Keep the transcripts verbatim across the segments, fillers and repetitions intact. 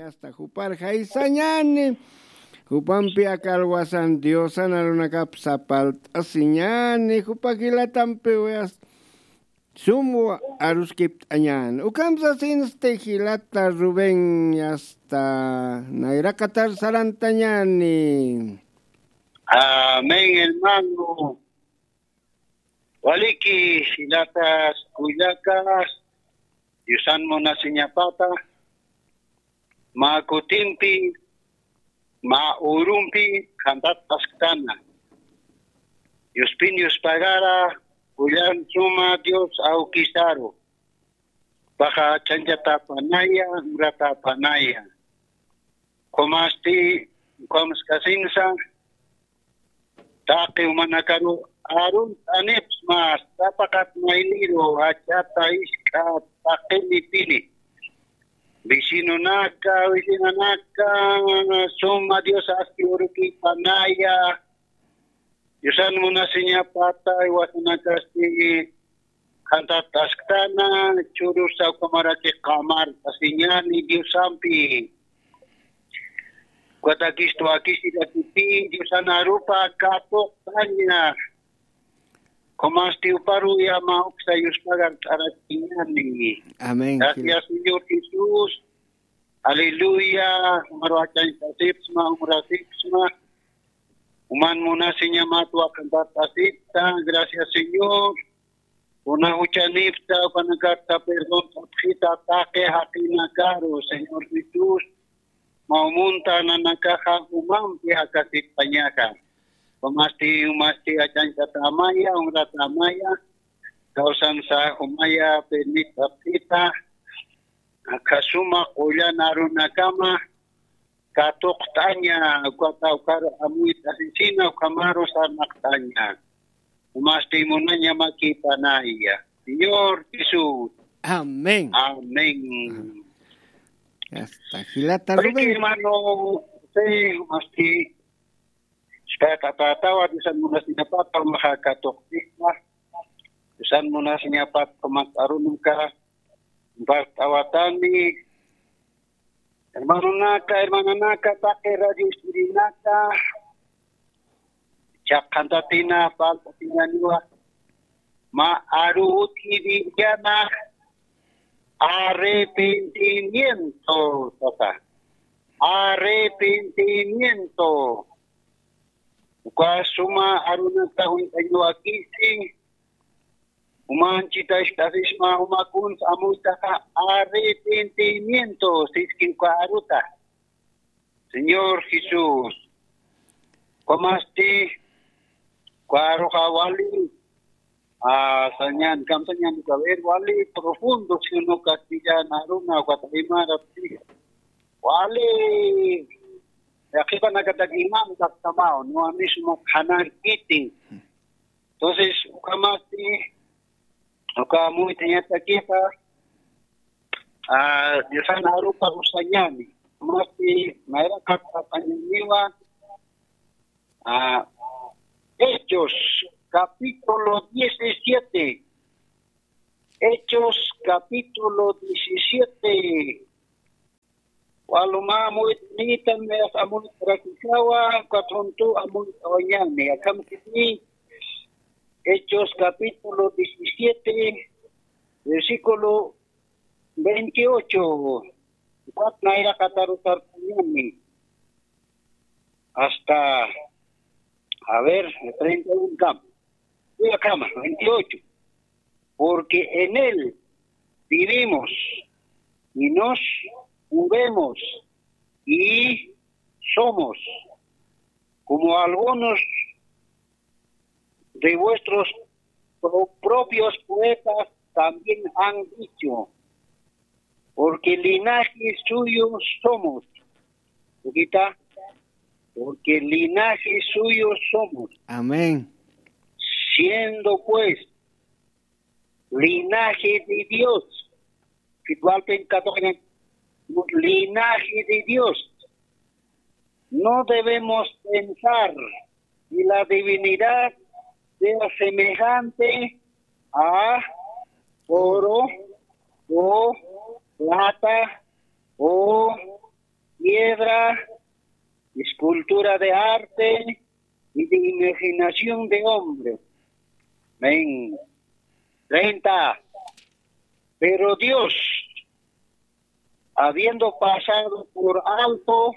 Hasta jupar jaysañani, jupampi aka alwasan Diosan arunakap sapalt'asiñani, jupa jilatampiw hasta sumwa aruskipt'añani. Ukham sasinsti jilata Rubén, hasta nayraqatar sarantañani. Amén, hermano. Waliki jilatas kullakas, Diosan munasiñapata, mä kutimpi, mä urumpi qhantat asktana. Diospin Dios pagara, kullan suma Dios awkisaru. Paxa chanchatapanaya, uratapanaya. Kumasti, kumskasinsa, taqi umanakaru arun t'anipsma, sapaqat mayniru, jach'ata isk'a taqinipini. Vecinonaka, vecinanaka, suma Dios aski urukipanaya. Diosan munasiñapata, iwasanakasti, qhantat asktana, churus sawkamaraki qamar, asiñani Diosampi. Kutakistu akisirakipi, Diosan arupa katuqtaña. Kumasti uparu yama uksa yuspagar t'arakiñani. Amén. Gracias, Señor Jesús. Aleluya. Umaru achañtasipsma, umrasipsma. Uman munasiñamat waqantatasipta. Gracias, Señor. Kuna juchanipta, ukanakata perdón t'apxita taqi jaqinakaru, Señor Jesús. Mawmunta nanakaxa umampi jakasiptañaxa. Umasti, umasti achañchatamaya, umratamaya. Kawsansa umaya, permit t'apxita. Akasuma qullan arunakama katuqt'aña, ukat awkar amuyt'asisina, ukhamaru sarnaqt'aña. Umasti munaña makipanaya. Señor Jesús. Amén. Amén. Hasta jilata Rubén. Hermano, sí, umasti, espera, tatawa, Diosan munasiñapata, umaxa katuqt'isma. Diosan munasiñapata, umat arunaka, bart'awatani, hermanonaka, hermananaka, taqi radio escuchanaka, chaqantatina, paltatinaniwa, mä aru utji Bibliana, arrepentimiento, sasa. Arrepentimiento. Uka suma arunata junt'añawakisti, umanchita ist'asisma, umakuns amuytaxa arrepentimiento, siski uka aruta. Señor Jesús, kumasti, uka aruxa wali, ah, sañan, kamsañan, uka, a ver, wali profundo, si uno castellano, aruna, uka aymara, wali, yaqhipanakatak iman kaktamaw, no, a mismo qhanan kiti. Entonces, ukhamasti, uka amuytañatakixa, ah, Diosan arupa usañani. Ukhamasti, mayra katuqañaniwa, ah, Hechos, capítulo diecisiete. Hechos, capítulo diecisiete. Waluma amuyt'anitan, mayas amuyt'arakisawa, ukat juntu amuyt'awañani. Akham kiti, Hechos capítulo diecisiete, versículo veintiocho. Ukat nayraqataru sartañani. Hasta, a ver, treinta y uno kam. Uy, akhama, veintiocho. Porque en él vivimos y nos movemos y somos, como algunos de vuestros pro-, propios poetas también han dicho, porque linaje suyo somos. Ukita, porque linaje suyo somos. Amén. Siendo pues linaje de Dios. Kitualpen katuqañan, linaje de Dios. No debemos pensar que la divinidad sea semejante a oro o plata o obra de arte y de imaginación de hombre. Amén. Treinta. Pero Dios, habiendo pasado por alto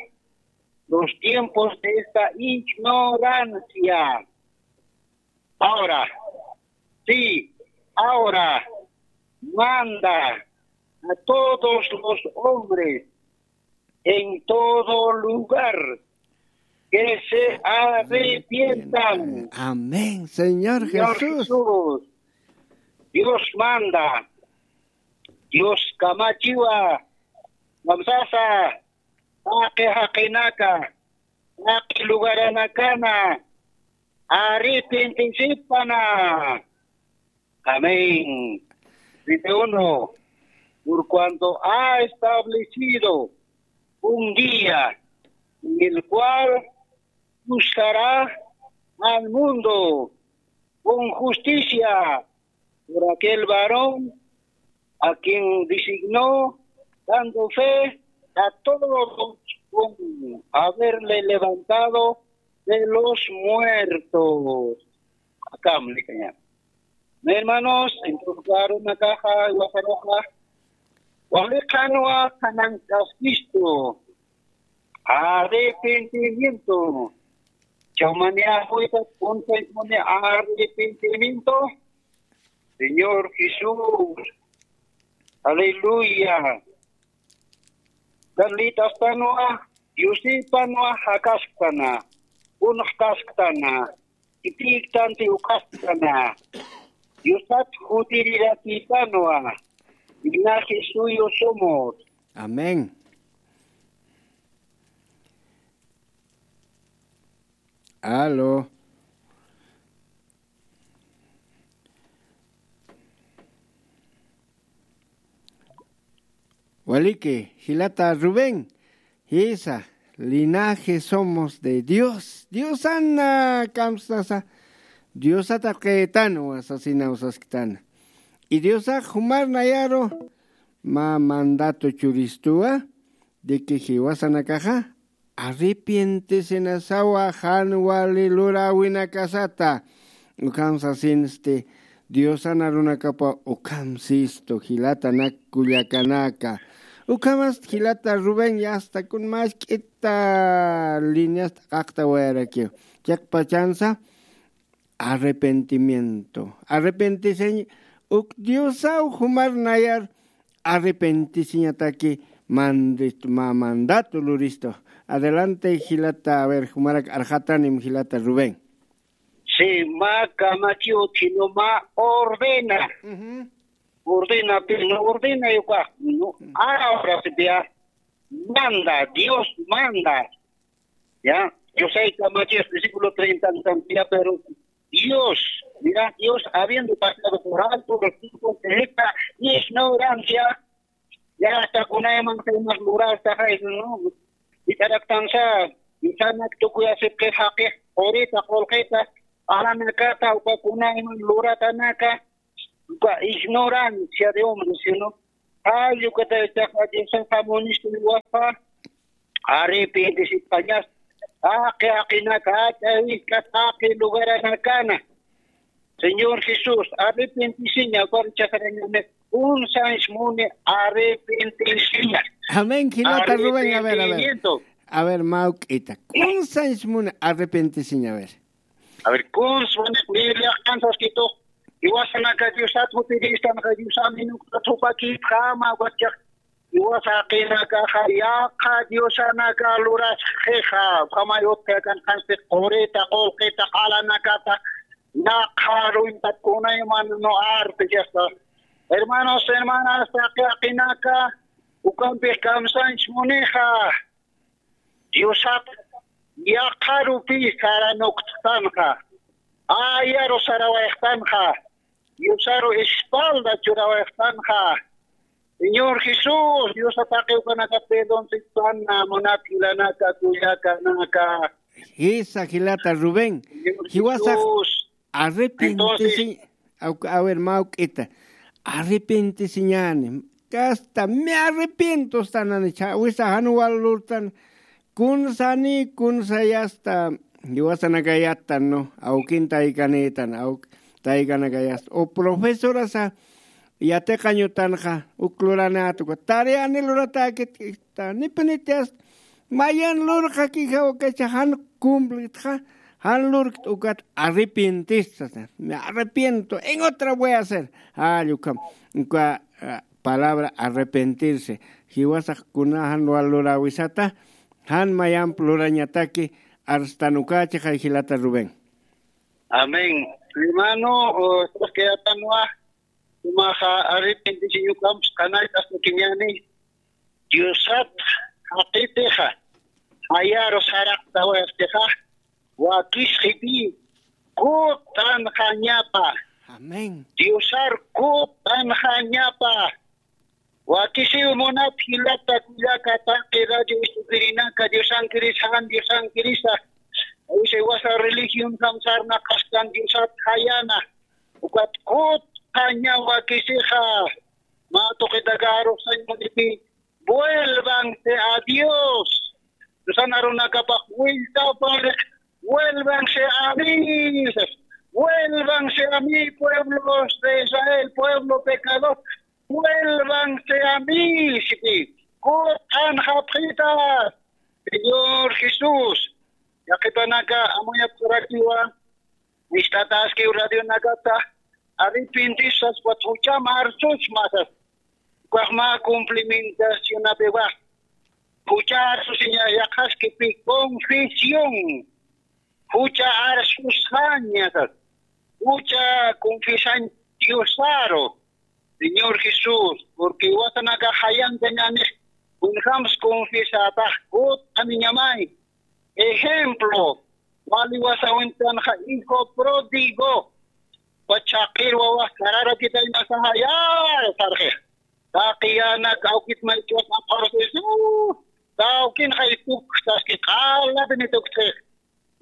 los tiempos de esta ignorancia, ahora, sí, ahora manda a todos los hombres en todo lugar que se arrepientan. Amén, Señor Señor Jesús. Jesús, Dios manda, Dios kamachiwa, kamsasa, taqi jaqinaka, taqi lugaranakana, arrepentisipan. Amén. Treinta y uno. Por cuanto ha establecido un día en el cual juzgará al mundo con justicia por aquel varón a quien designó, dando fe a todos con haberle levantado de los muertos. Akäm likaña. Hermanos, entonces, claro, nakaxa, wasaruxa, wali qhanwa qhanank'askistu. Arrepentimiento. Chawmaniya, juita, punta, arrepentimiento. Señor Jesús. Aleluya. Carlitastanwa, Diosipanwa jakasktana, unxkasktana, itïktanti ukasktana, Diosat jutirirakïpanwa, linaje suyo somos. Amén. Aló. Waliki, jilata Rubén, jisa, linaje somos de Dios. Diosana kamsasa, Diosata qhitanwa sasinaw sasktana. Y Diosax jumar nayaru mä mandato churistuwa, de que jiwasanakaxa arrepientisinasawa jan wali luräwinakasata. Ukham sasinsti Diosan arunakapa ukham sistu jilatanak kullakanaka. Ukhamasti jilata Rubén yasta kun mask'ita lineasta qaqtawayarakiw. Chiqpachansa arrepentimiento. Arrepentisiñ uk Diosaw jumar nayar arrepentisiñataki mandist-, ma-, mandato luristu. Adelante, jilata, a ver, jumarak arxatanim jilata Rubén. Sí, mä kamachiw, sino mä ordena. Ujú. Ordena, pero no ordena yo acá, no. Mm. Ahora sí, ya, manda, Dios manda. Ya, yo sé, kamachiw, versículo treinta, ya, pero Dios, mira, Dios habiendo pasado por alto los tiempos de esta ignorancia, ya hasta kunayman temas lurasta, ¿no? Y para alcanzar, y sana que tú ya se queja que, ahorita, ahorita, alanakata, uka kunayman luratanaka, uka ignorancia de hombres, ¿no? Ay, ukataytaqa Diosaqa munista niwaspa, arrepentisipañas, taqi jaqinaka, taqi lugaranakana. Señor Jesús, arrepentisiña, ukhar chasarañani, kunsañs muni arrepentisiña. Amén, jilata Rubén, a ver, a ver. Arrepentimiento. A ver, mawk'ita, kunsañs muni arrepentisiña, a ver. A ver, kuns muni, Biblia kansaskitu, jiwasanaka Diosat jutiristanxa, Diosamin uktat jupakipxama, wachax, jiwasa jaqinakaxa, yaqha diosanaka lurasxixa, ukhamay utjakan qansti qurita, qullqita, alanakata, yaqha ruwintat kunayman no arte, ya está. Hermanos, hermanas, taqi jaqinaka, ukampix kamsañs munixa. Diosat yaqharupi saranukttanxa, ayaru sarawayxtanxa, Diosaru espalda churawayxtanxa. Señor Jesús, Diosat taqi ukanaka perdonsiktana, munat jilanaka, kullakanaka. Jisa, jilata Rubén. Señor Jesús. Arrepentisiñ, entonces, a ver, mawk'ita. Arrepentisiñani. Hasta me arrepiento, stanani, cha, wisa jan wal lurtan, kunsani kunsayasta jiwasanakayattan, ¿no? Awkin taykanïtan, awk taykanakayasta. O profesorasa yatiqañutanxa uk luranäta uka tareani luratäkit, nipinitiyas mayan lurxakixa ukacha jan cumplitxa, jan lurkt ukat arrepientisasa. Me arrepiento, en otra voy a hacer. Jall ukham, uka ah, palabra arrepentirse. Jiwasax kuna jan wal luräwisata, jan mayamp lurañataki, arstan ukächixay jilata Rubén. Amén. Hermano, o, estás que atanwa, tumaxa arrepentisiñukamps qanayt'as tukiñani, Diosat jaqitixa, jayaru saraqtawayastixa, wakisxipi, kut'anxañapa. Amén. Diosar kut'anxañapa. Wakisiw munat jilata kullaka taqi radio istukirinaka, Diosankirisa, jan Diosankirisa. Awisa iwasa religión kamsarnaqastan Diosat jayana. Ukat kut'aña wakisixa. Mä tuqitaka arux sañ munipi, vuélvanse a Dios. Diosana arunakapax willtapar, vuélvanse a mí. Vuélvanse a mí, pueblos de Israel, pueblo pecador. Vuélvanse a mí, sipi. Kut'anxapxita. Señor Jesús, yaqhipanaka amuyapxarakiwa, ist'ataskiw radionakata, arrepentisas, ukat jucham arsusma sas. Ukax mä cumplimentacionapiwa. Jucha arsusiña yaqhaskipi confesión. Jucha arsusxaña sas. Jucha confesañ Diosaru. Señor Jesús, porque jiwasanakax jayankañänix, kunjams confiesatax kut'aniñamay. Ejemplo, wali wasawintanxa hijo pródigo, uka chhaqir wawax sararakitaynasaxa, ya, sarxix. Taqi yänak awkit maych'uwas apxarusisa, tawkinxa itukxtaski, q'alapini tuktxix.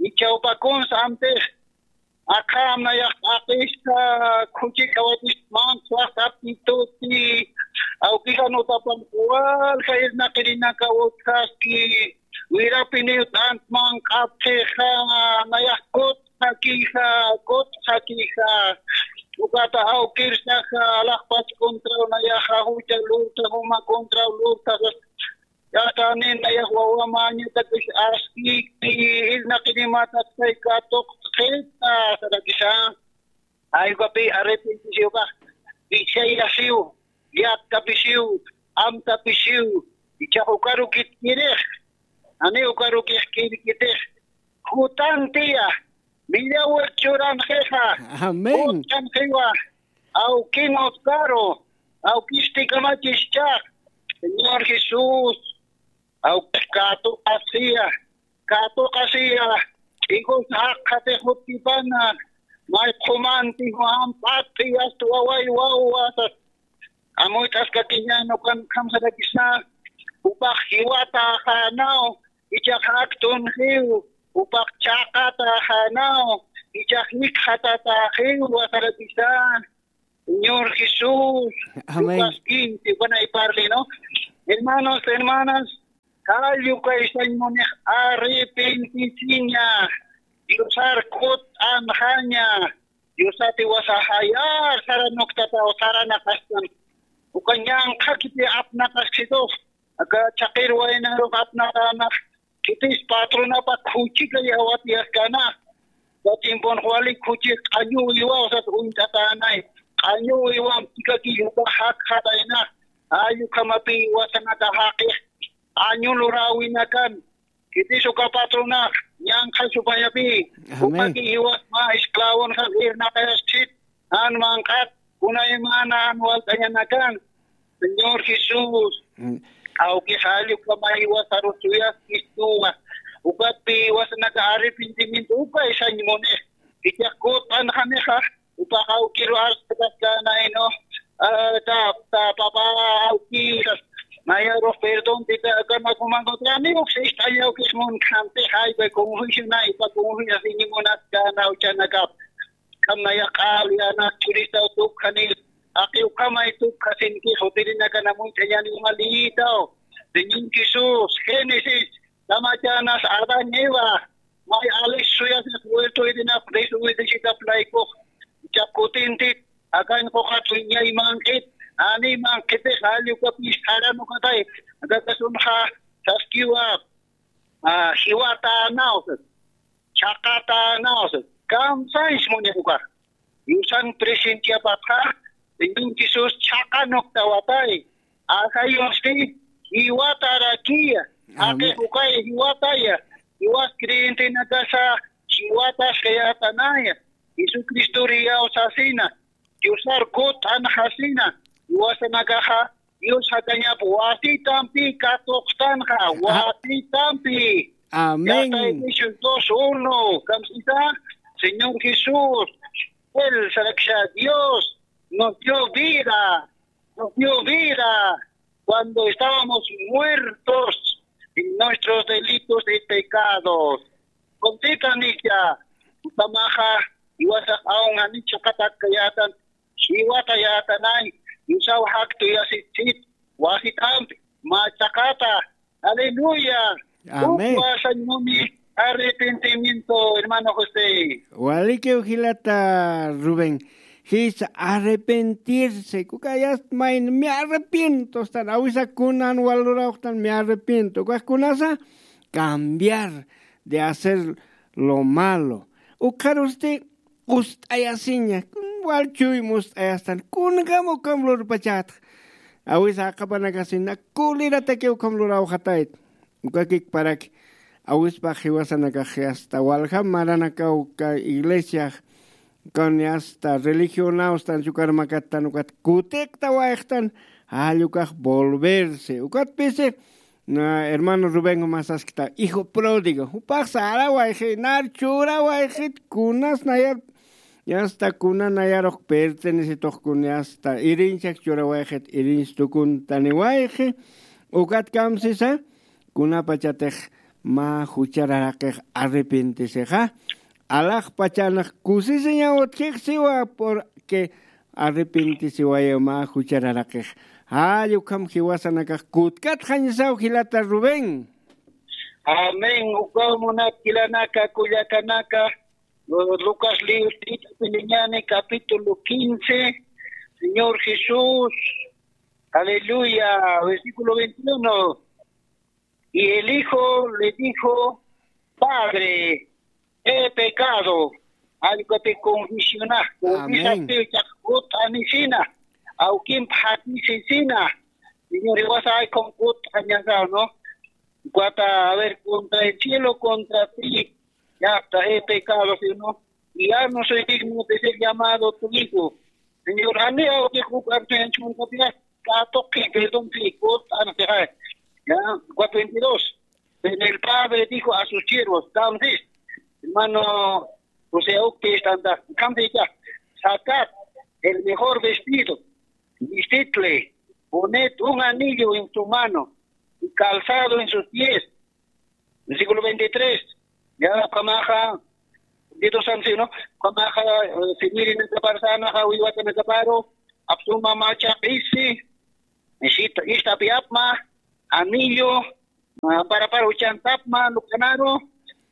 Ichhawpakuns amtix, aqham nayax t'aqista, khuchikawatist manqswax aptituti, awkixa nutapan walja irnaqirinaka utjaski, wirapiniw t'ant manq'apxixa, nayax kutxakixa, kutxakixa, ukata awkirsaxa, alaxpach contraw nayaxa, jucha lurta, juma contraw lurta, Yaqha nina yaq wawa mañatakis askiki, irnaqinimatak katuqt'xita sarakisa. Jaywapi arrepentisiwpax, pichayasiw, yatkapisiw, amtapisiw, ichax ukarukitkirix, jani ukarukix kirkitix, jutantiya, millawir churanxixa, Amén. Jutanxiwa, awkin utkaru, awkisti kamachis chaq, Señor Jesús, awkix katuqasiya, katuqasiya, ch'ikus jaqxatix jutkipana, may qhumanti jujamp'at tiyast waway wawasas, amuyt'askakiñan ukan kamsarakisa, jupax jiwataxanaw, ichax aktunxiw, jupax chhaqataxanaw, ichax jikxatataxiw, wasarakisa, Señor Jesús, Amén. Lucas quince, bueno, ahí parle, ¿no? Hermanos, hermanas, jall ukaysañ munix arrepentisiña, Diosar kut'anxaña, Diosati wasa jayar saranuktapaw saranaqastan, uka ñanqhakiti apnaqaskitux, aka chhaqir waynarux apnaqanax, khitis patronapa khuchika yawatiyaskana. Uka tiemponx wali khuchi q'añuwiwa, usat uñt'atänay. Q'añuwiwam chikaki yupa jakxatayna. Jall ukhamapi wasanaka jaqix q'añu luräwinakan. Khitis uka patronax ñanqha supayapi. Amén. Jupaki jiwas mä esclavonxan irnaqayaskit. Jan manq'at, kunaymana jan walt'añanakan, Señor Jesús, Mm. awki jall ukhamay wasaru suyaskistuwa, ukatpi wasanaka arrepentimiento, ukaysañ munix, ichax kut'anxanixa, jupax awkiru arst'ataskäna, ¿no? Ah, ta, ta, papá, awkisas, mayarux perdón, tita, kama kumankutrani, uk sist'aña awkis munkhampi, jaypa confusionay, pa confusiasiñi munaskäna, uchanakap. Kamnaya q'al yänak churistaw tukjani, aqi ukhamay tukjasinki, jutirinakana much'añani malïtaw. Señor Jesús, Génesis, tama Chanas Adán Eva, may alis suyasix huerto Edenap desobedecitap laykux, chakutintit, akañ quqat wiñay manq'it, ani manq'itix, alli ukapis jaran ukatay, akakasunxa, saskiwa, ah, jiwata anawsas, chaqata anawsas, kamsañs muñax ukax. Yusan presenciapatxa, Señor Jesús chhaqanuktawatay, ajayusti jiwatarakiya, Amén. Jaqixukay jiwataya, jiwas creyentenakasa jiwatas kayatanaya, Jesucristo riyawsasina, Diosar kut'anxasina, jiwasanakaxa, Dios jakañap wasitampi katuqtanxa, wasitampi. Amén. Yata Efesios dos uno, kamsita, Señor Jesús, Él, Saraksha Dios, nos dio vida, nos dio vida cuando estábamos muertos en nuestros delitos y pecados. Kuntita nicha, utamaxa, iwasax aun ani chaqatak kayatan, jiwata yätanay, yusaw jaktuyasitsit, wasitampi, mä chaqata. Aleluya. Amén. Ukwa sañmuni arrepentimiento, hermano José. Walikiw jilata Rubén. Jis arrepentirse. Kukayast mayn me arrepiento. Stan awisa kunan walurawxtan me arrepiento. Ukax kunasa cambiar de hacer lo malo. Ukxarusti kust'ayasiña, wal chuy must'ayastan, kunjam ukham lurpachätx. Awisa aqhapanakasina, kulirataki ukham lurawxatayt. Ukakik paraki, awispax jiwasanakax hasta waljam maranakaw ka iglesiax, kani hasta religionaw stan chukar makattan ukat kutiqtawayxtan, jall ukax volverse. Ukat pisi, na, hermano Rubén, jumasaskta, hijo pródigo. Jupax sarawayxi, nar churawayxit, kunas nayar, yasta kuna nayarux pertenesetux kun yasta, irinchak churawayxit, irinch tukuntaniwayxi. Ukat kamsisa, kunapachatix mä juchararaqix arrepentisixa, alaxpachanax kusisiñaw utjix siwa, porque arrepentisiwayaw mä juchararaqix. Jall ukham jiwasanakax kutkatxañasaw jilata Rubén. Amén. Ukaw munat jilanaka, kullakanaka, Lucas libro capítulo quince, Señor Jesús, aleluya, versículo veintiuno. Y el hijo le dijo, Padre, he pecado. Alkati confesiona, confesa. Amén. Pichaq kut'anisina, awkimp jakisisina. Señor, iwasa ay con kut'añasa, ¿no? Cuata, a ver, contra el cielo, contra ti, ya está, he pecado, ¿sí, no? Y ya no soy digno de ser llamado tu hijo. Señor, ani awkix uk artuyanchunkapias, katuqi, perdón, sí, kut'anasixa. Ya, cuatro veintidós. Pero el padre dijo a sus siervos, kamsis, hermano José, ukti istanta, kamsis ya, sacad el mejor vestido, vestidle, poned un anillo en su mano y calzado en sus pies. Versículo veintitrés. Ya, kamaxa, veintidós, ¿no? Kamaxa, eh, simirinakaparsanaxa, wiwatanakaparu, apsuma macha qisi, ishit-, ishtapi apma, anillo, ah, para, para uchantapma, lukanaru,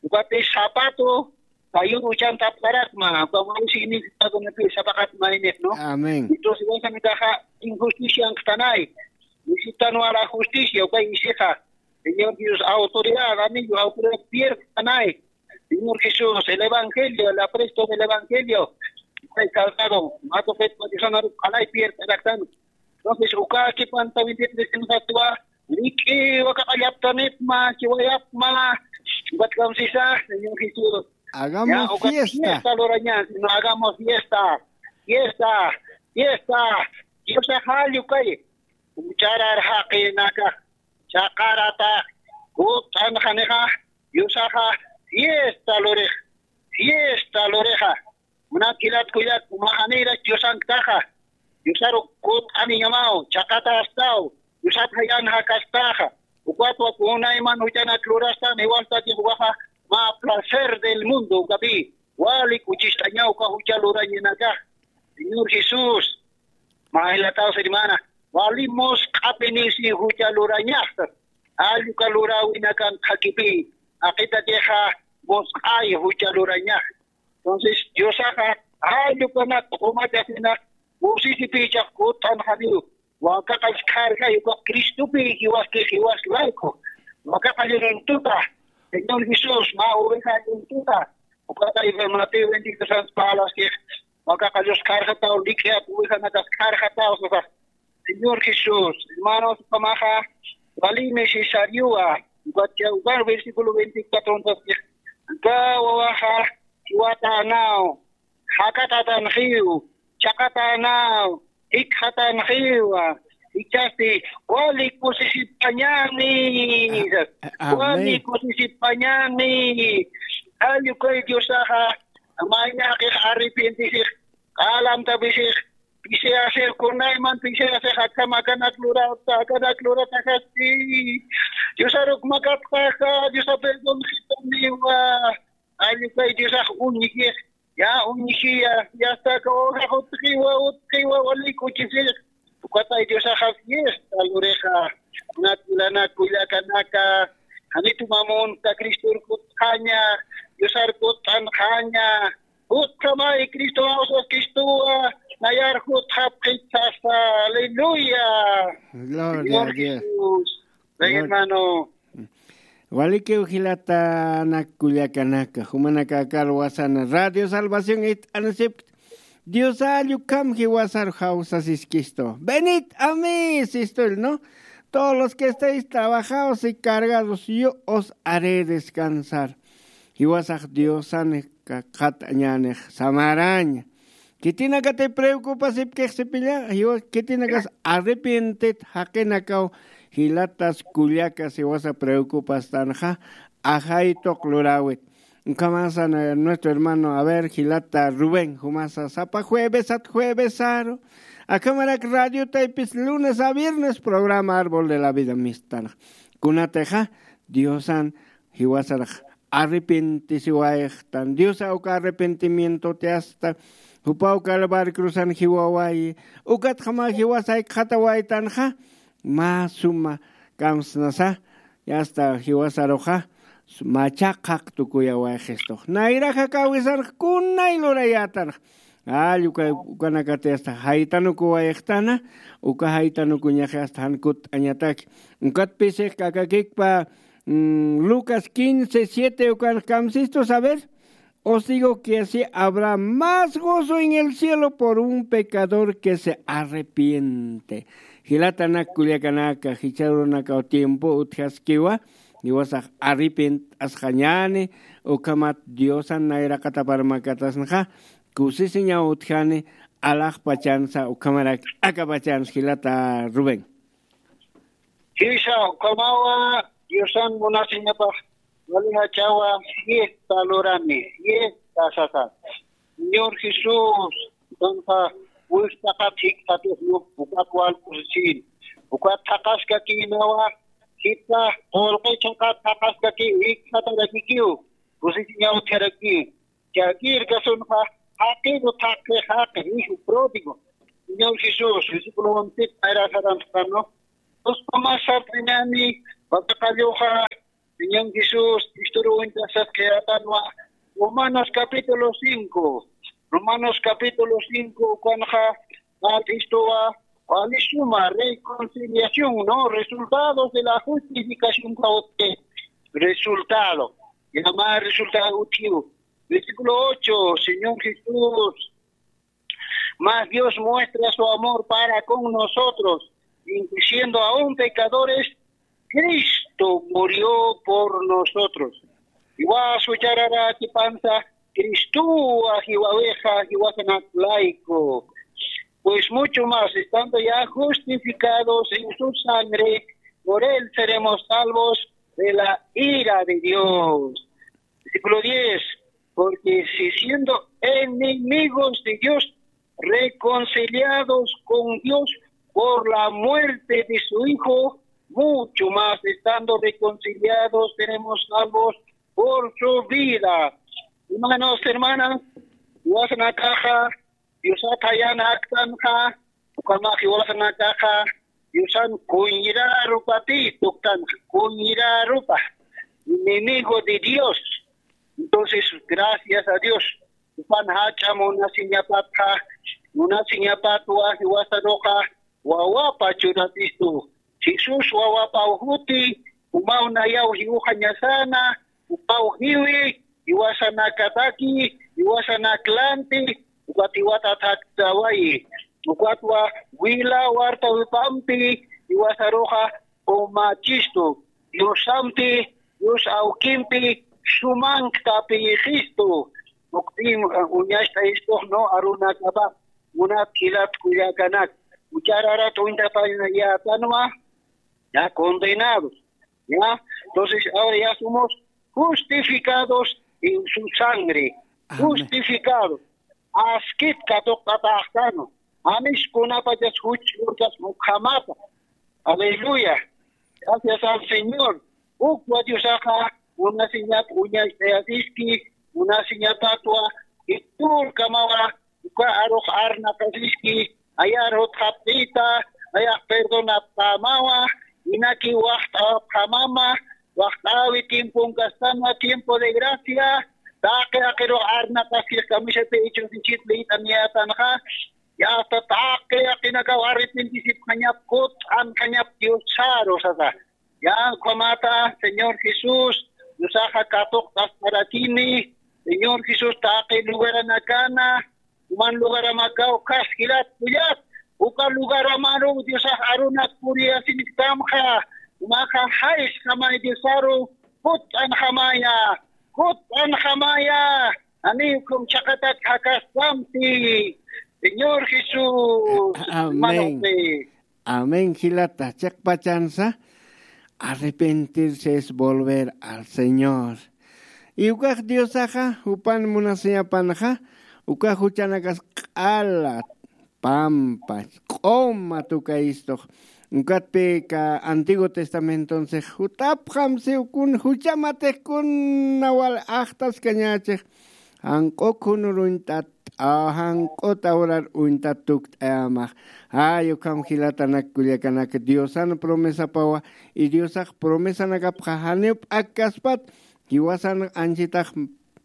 ukati zapato, kayur uchantapkarakma, como un significado, ¿no? Sapakatma, ¿no? Amén. Entonces, esa me caja injusticia en Tanay. Necesitan la justicia, ok, y seja, Señor Dios, autoridad, anillo, autoridad, pierda, Tanay. Señor Jesús, el evangelio, el apresto del evangelio, ay, calzado, mato, fe, condición, alay, pierda, entonces, uka kipanta veintitrés, rik'i wakaqallaptanipma, chiwayapma, ukat kamsisa, Señor Jesús. Hagamos, ya, ukat fiesta. Fiesta luraña, no hagamos fiesta, fiesta, fiesta. Diosa jall ukay, jucharar jaqinaka, chaqarata, kut'anxanixa, Diosaxa, fiesta lurix, fiesta lurixa. Munat jilat kullat, umaxanïra Diosanktaxa, Diosaru kut'aniñamaw, chaqatastaw, Diosat jayan jakastaxa, ukatwa kunayman juchanat lurastan, jiwastakix ukaxa mä placer del mundo, ukapi, wali kuchistañaw uka jucha lurañanakax. Señor Jesús, mä jilataw, hermana, wali musq'apinisi jucha lurañaxta. Alluka luräwinakan qhakipi, aqitakixa musq'ay jucha lurañax. Entonces, Diosaxa allukanak q'umachakinak kusisipichax kut'anxaniw, wakaqach kargay uka Cristopi jiwaski jiwas layku, wakaqach runtuta, Señor Jesús, mä oveja runtuta, ukatay Mateo veintitrés palaskix, wakaqach karxataw, lik'iat ovejanakas karxataw, sasa. Señor Jesús, hermanos, ukhamaxa, wali necesariowa, ukat, ukat versículo veinticuatro, entonces, uka wawaxa, jiwatänaw, jakatatanxiw, chaqatänaw, jikxatanxiwa, jichhasti, wali kusisipañäni, Amén. Wali kusisipañäni, allukay Diosaxa, mayni jaqix arrepientisix, q'alamtapisix, pisiyasix, kunayman pisiyasix, akham akanak lurata, akanak lurata jasti. Diosaruk makatxaxa, Diosa perdonxitaniwa. Allukay Diosax uñjix, ya uñjiya, ya saka ovejax utjiwa, utjiwa, wali kuchisix. Ukatay Diosaxa fiesta lurixa. Kunat lana kullakanaka, janitu mamunta Cristor kutxaña, Diosar kutxanxaña, Jutjamay Cristo Jesús Cristowa, nayar jutjapxit sasa. Aleluya. Gloria a Dios. Jesús. Ven, hermano. Walikiw jilatanak kullakanaka, jumanaka karwasana Radio Salvación it'anasipkt. Dios allukam jiwasar jawsasiskisto. Venid a mí, sistul, ¿no? Todos los que estáis trabajados y cargados, yo os haré descansar. Jiwasax Diosan qat'añänix samaraña. Khitinakati preocupasipkix sipilla, jiwa khitinakas arrepientit jaqinakaw jilatas kullakas jiwasa preocupastanxa ajaytuq luräwit. Ukhamasa nuestro hermano, a ver, jilata Rubén, jumasa sapa juevesat juevesaru. Akhamarak radio taypis lunes a viernes programa Árbol de la Vida mistan. Kunatixa Diosan jiwasarax arrepentisiwayxtan. Diosa uka arrepentimiento tiasta, jupaw Calvario cruzan jiwawayi, ukatxama jiwasa jikxatawaytanxa, mä suma kamsnasa, yasta jiwasaruxa, macha qhaq tukuyawayxistux. Nayraxa kawisanx kunay lurayätanx. All uka, ukanakati hasta jaytanukuwayxtana, uka jaytanukuñaxi hasta jan kut'añataki. Ukat pisix k'akakikpa, mm, Lucas quince siete ukan kamsistus, a ver. Os digo que así habrá más gozo en el cielo por un pecador que se arrepiente. Jilatanak kullakanaka, jichhürunakaw tiempo utjaskiwa, jiwasax arrepient'asxañäni, ukhamat Diosan nayraqatapar makatasnxa, kusisiñaw utjani, alaxpachansa, ukhamarak akapachansa, jilata Rubén. Jisa, ukhamawa, Diosan munasiñapax, wali jachawa, fiesta lurani, fiesta sasa. Señor Jesús, kunsa, wist'aqat jikxatisnu, ukat wal kusisin, ukat thaqaskakïnawa, jita, qullqi chhaqat thaqaskaki, jikxatarakikiw, kusisiñaw utjaraki. Chakir kasunxa, jaqin utjaqi, jaqi, hijo pródigo. Señor Jesús, versículo once, ayra saranxtanu. Dos comas sartañani, wakaqalluxa, Señor Jesús, Cristo ruwintasat qhiyatanwa. Romanos capítulo cinco. Romanos capítulo cinco, ukanxa, Cristowa, wali suma, reconciliación, ¿no? Resultados de la justificación, ¿qué resultado? Llama resultado, tío. Versículo ocho, Señor Jesús, mas Dios muestra su amor para con nosotros, en que siendo aún pecadores, Cristo murió por nosotros. Igual su charara que panza, Cristo, ajiwaweja, ajiwaja laico. Pues mucho más, estando ya justificados en su sangre, por él seremos salvos de la ira de Dios. Versículo diez, porque si siendo enemigos de Dios, reconciliados con Dios por la muerte de su Hijo, mucho más estando reconciliados seremos salvos por su vida. Hermanos, hermanas, jiwasanakaxa, Diosat jayan aktanxa, ukamax jiwasanakaxa, Diosan kuñrarupati tuktan, kuñrarupa, enemigo de Dios. Entonces, gracias a Dios, upan jach'a munasiñapatxa, munasiñapatwa jiwasaruxa wawapa churatistu. Jesús wawapa ujuti, umaw nayaw jiwuxañasana, upaw jiwi, jiwasanakataki, jiwasanaklanti, ukat jiwatataktawayi. Ukatwa wila wartawipampi jiwasaruxa umachistu. Diosampi, Dios awkimpi sumanktapiyixistu. Uktim uñacht'ayistux no arunakapa, munat jilat kullakanak. Uchararat uñtapayätanwa, ya condenados. Ya, entonces ahora ya somos justificados en su sangre. Justificados. Askit katuqt'ataxtanu. Janis kunapachas juch urkas ukhamata. Aleluya. Gracias al Señor. Ukwa Diosaxa munasiñap uñacht'ayasiski, munasiñapatwa jiturkamawa uka arux arnaqasiski, ayar jutxapt'ita, ayax perdonapxamawa, inaki waxt'awapxamama, waxt'awi tiemponkastanwa tiempo de gracia, taqi jaqirux arnaqaskix kamisati ichus ichit liyt'aniyätanxa, ya hasta taqi jaqinakaw arrepentisipxañap kut'anxañap Diosaru sasa. Ya ukhamata, Señor Jesús, Diosaxa katuqt'asparakini, Señor Jesús, taqi lugaranakana, uman lugaramakaw khas jilat kullat, uka lugaramaru Diosax arunak puriyasinkamxa, umaxa jaysxamay Diosaru, kut'anxamaya, kut'anxamaya, ani ukham chhaqatat jakastampi, Señor Jesús, hermano Fe. Amén, jilata. Chiqpachansa, arrepentirse es volver al Señor. Y ukax Diosaxa, jupan munasiñapanxa, ukax juchanakas q'ala, pampa, q'uma tukayistux. Ukatpï ka Antiguo Testamentonsi, jutapxam siw kun juchamatix kuna wal axtaskañächix. Janq'u khunur uñt'at, a, janq'u t'awrar uñt'at tukt'ayamax. Ay, ukham jilatanak kullakanak Diosan promesapawa, y Diosax promesanakapxa janiw p'akkaspat, jiwasan anchitax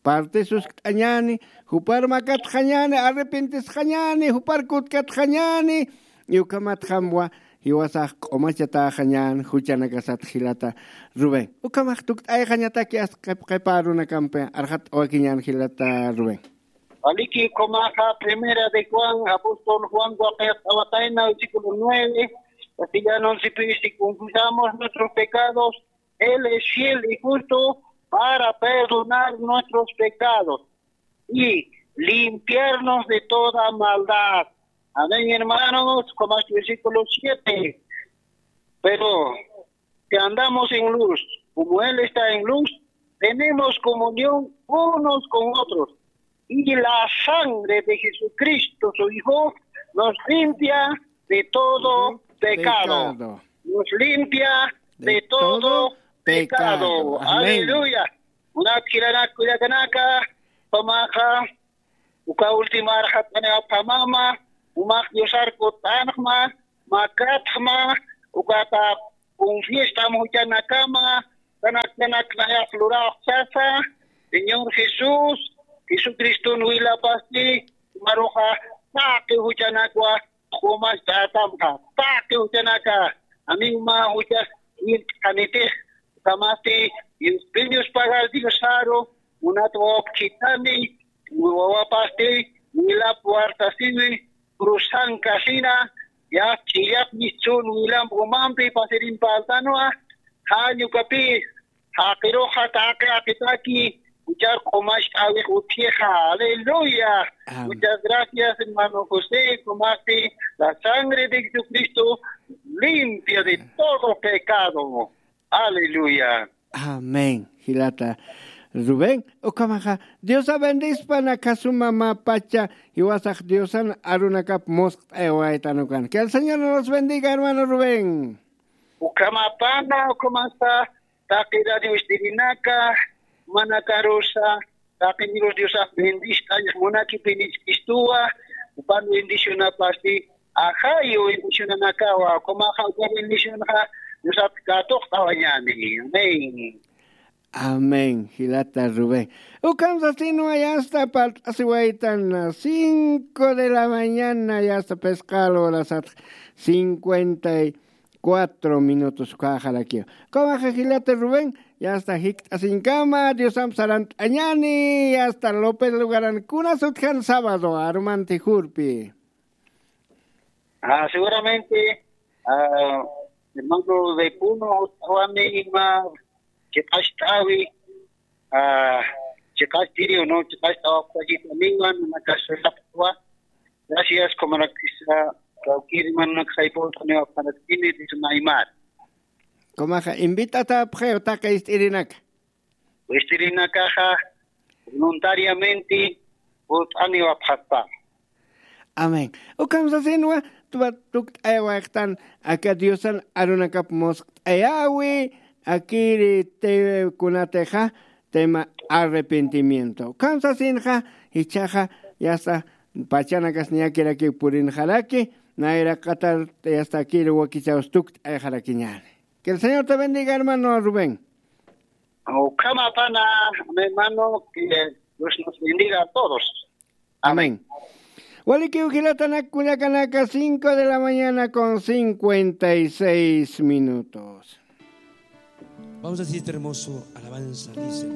parte suskt'añäni, jupar makatxañäni, arrepentisxañäni, jupar kutkatxañäni, y ukhamatxamwa, jiwasax q'umachatäxañän juchanakasat jilata Rubén. Ukhamax tukt'ayxañataki as qip qipa arunakampi arxat'awakiñän jilata Rubén. Aliki, ukhamaxa Primera de Juan, apóstol Juan waqit awatayna, versículo nueve, castellano, si confesamos nuestros pecados, Él es fiel y justo para perdonar nuestros pecados y limpiarnos de toda maldad. Amén, hermanos, como este versículo siete. Pero si andamos en luz, como Él está en luz, tenemos comunión unos con otros. Y la sangre de Jesucristo, su Hijo, nos limpia de todo pecado. Nos limpia de todo pecado. Amén. Aleluya. Munat jilanak kullakanaka, ukhamaxa, uka última arxat'anipxamama, umax Diosar kut'anxma, makatxma, ukata confiestam juchanakama, kanak kanak nayax luräx sasa, Señor Jesús, Jesucriston wilapasti, umaruxa taqi juchanakwa q'umacht'atamxa, taqi juchanaka, ani uma juchas irt'anitix, ukhamasti, Dios, Dios pagar Diosaru, munat wawap khithani, wawapasti, wilap wartasiwi, cruzan kasina, ya ch'illap mischun wilamp umampi pasirin partanwa, jan ukapï, jaqiruxa taqi jaqitaki, juchar q'umacht'äwix utjixa. Aleluya. Amén. Muchas gracias, hermano José, ukhamaxti, la sangre de Jesucristo limpia de todo pecado. Aleluya. Amén. Jilata Rubén, ukhamaxa, Diosa bendispa, nakasuma mä pacha, jiwasax Diosan arunakap musqt'ayawaytan ukan. Que el Señor nos bendiga, hermano Rubén. Ukhamapana, ukhamasa, taqi radio estirinaka, manakarusa, taqi mirus Diosax bendist'añ munakipiniskistuwa, upan bendicionapasti, Ajayu bendicionanakawa, kumaxa uka bendicionxa Diosat katuqt'awañani. Amén. Amén, jilata Rubén. Ukham sasinwa, yasta parlt'asiwaytan cinco de la mañana, yasta pesqal horasat cincuenta y cuatro minutos ukaxarakiw. Kumaxa jilata Rubén, yasta jikt'asiñkama, Diosamp sarant'añani, yasta López Lugaran kunas utjan sábado, armanti jurpi. Ah, seguramente, ah, hermano de Puno, utjawani ima, chiqacht'awi, ah, chiqacht'iriw, ¿no? Chiqacht'awapxayitaniwa, nanakasapxwa. Gracias, kumanakisa, kawkiri mananakasaypawtaniwa, panatini, dismaymar. Kumaxa, invit'atapxaw taqi ist'irinaka. Ist'irinakaxa voluntariamente purt'aniwapxaspa. Amén. Ukham sasinwa, tuwa tukt'ayawayxtan aka Diosan arunakap musqt'ayawi, akiri te kunatixa tema arrepentimiento. Ukham sasinxa, jichhaxa, yasta pachanakas niyakirakiw purinxaraki, nayraqatar yasta akiri wakichaws tukt'ayxarakiñani. Que el Señor te bendiga, hermano Rubén. Ukhama pana, mi hermano, que Dios nos bendiga a todos. Amén. Walikiw jilatanak kullakanaka, cinco de la mañana con cincuenta y seis minutos. Vamos a decir este hermoso alabanza, dice.